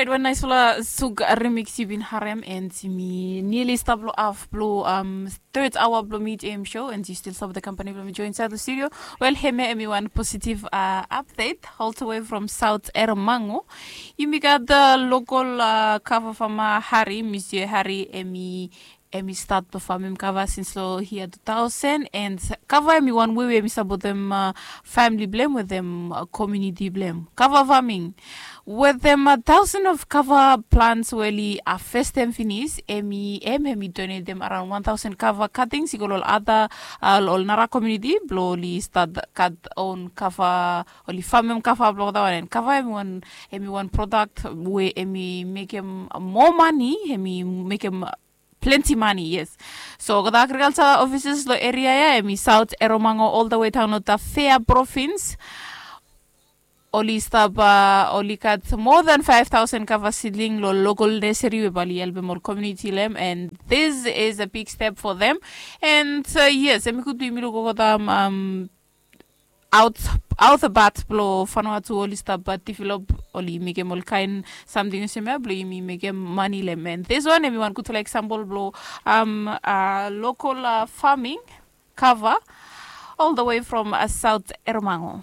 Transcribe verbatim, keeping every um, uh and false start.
Wan naisfala suk remix yu bin harem and mi nili stap long af blong um, third hour blong mi jm show and yu stil stap the company blong mi join inside the studio. Well, heme emi wan positive uh, update all the way from south ermango. Yumi gat the local uh, cover from uh, harry, monsieur harry emi emi stat blong famem kava sins long hia two thousand and kava emi wan wei we emi sapotem famili blem wetem komuniti blem kava faming wetem thousand of kava plants we oli festem finis emi em emi donetem around one thousand kava katings i go long ol ada ol nara komuniti blong oli stat kat on kava oli famem kava blong olgeta wan and kava emi wan emi wan product we emi mekem moa mani emi mekem plenty money, yes. So olgeta agriculture offices long area ya emi south eromango all the way down long tafea province. Oli stap uh, oli kat more than five thousand kava seedling long local nursery we bali helpem ol community lem and this is a big step for them. And uh, yes, emi gud blong yumi luk olgeta um, out out bat blong fanua tu oli stap develop oli mekem ol kain samting olsem ya blong yumi mekem mani long em and this one emi wan gudfala example blong um, uh, local uh, farming cover all the way from uh, south ermango.